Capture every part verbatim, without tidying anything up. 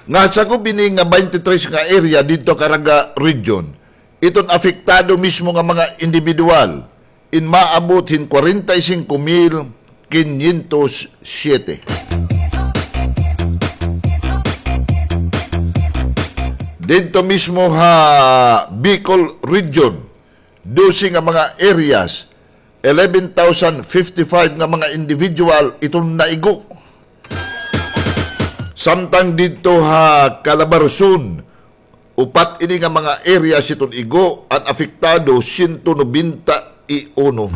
Nga sakob ini nga twenty-three nga area didto ha Caraga Region, iton apektado mismo nga mga individual, in maabot hin kwarenta y singko mil kinyentos siyete. Didto mismo ha Bicol Region, dose nga mga areas, eleven thousand fifty-five nga mga individual iton naigo. Samtang didto ha Calabarzon, upat ini nga mga areas iton igo, an apektado, siyento nobenta y uno.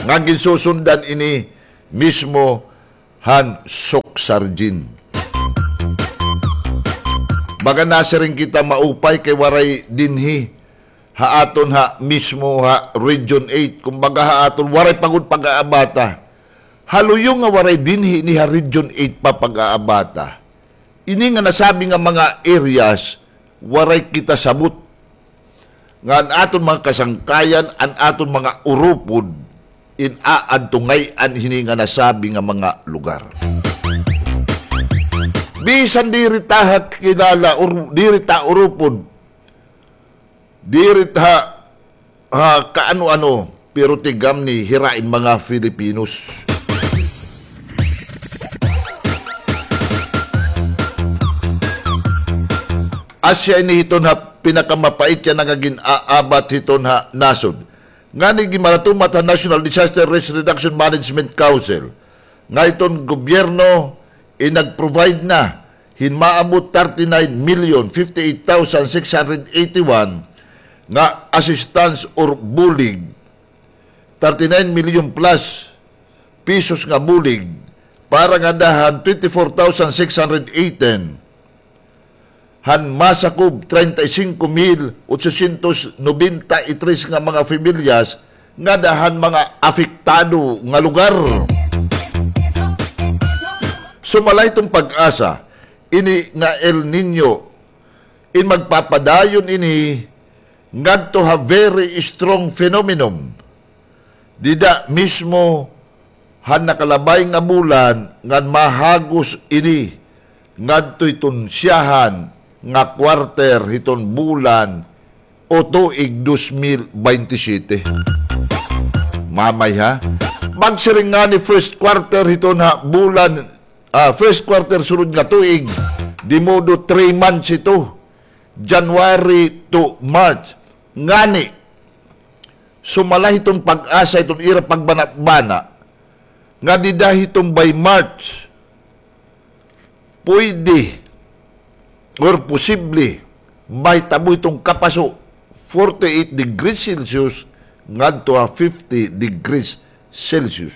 Nga ginsusundan ini mismo han Socsargen. Baga nasiring kita maupay kay waray dinhi ha aton ha mismo ha Region eight. Kumbaga ha aton waray pa gud pag-aabata. Haluyo nga waray dinhi ini ha Region eight pa pag-aabata. Ini nga nasabi nga mga areas, waray kita sabot nga an aton mga kasangkayan, an aton mga urupod, in aadto ngay-an hini nga nasabi nga mga lugar. Bisan diri ta ha kilala, ur-, diri ta urupod, diri ta ha kaano-ano, pero tigam ni hira in mga Filipinos. Asya ini hiton ha pinakamapait yana nga gin-aabat hiton ha nasod. Ngani ginmaratumat ha National Disaster Risk Reduction Management Council nga iton gobyerno in nag-provide na hin maabot thirty-nine million fifty-eight thousand six hundred eighty-one nga assistance or bulig, thirty-nine million plus pesos nga bulig para ngada han twenty-four thousand six hundred eighteen han masakob treinta y cinco mil ochocientos noventa y tres nga mga pamilyas ngada han mga apektado nga lugar. Sumala hiton PAGASA, ini nga El Niño in magpapadayon ini ngadto ha very strong phenomenon. Dida mismo han nakalabay nga bulan ngan mahagos ini ngadto hiton siyahan nga quarter hiton bulan o tuig dos mil baynte siyete. Mamay ha? Magsiring ngani first quarter hiton ha bulan, ah, first quarter sunod nga tuig, di modo three months ito, January to March. Ngani, sumala hiton PAGASA, hiton ira pagbanabana, nga dida hiton by March, pwede or posible mahitabo hiton kapaso forty-eight degrees Celsius ngadto ha fifty degrees Celsius.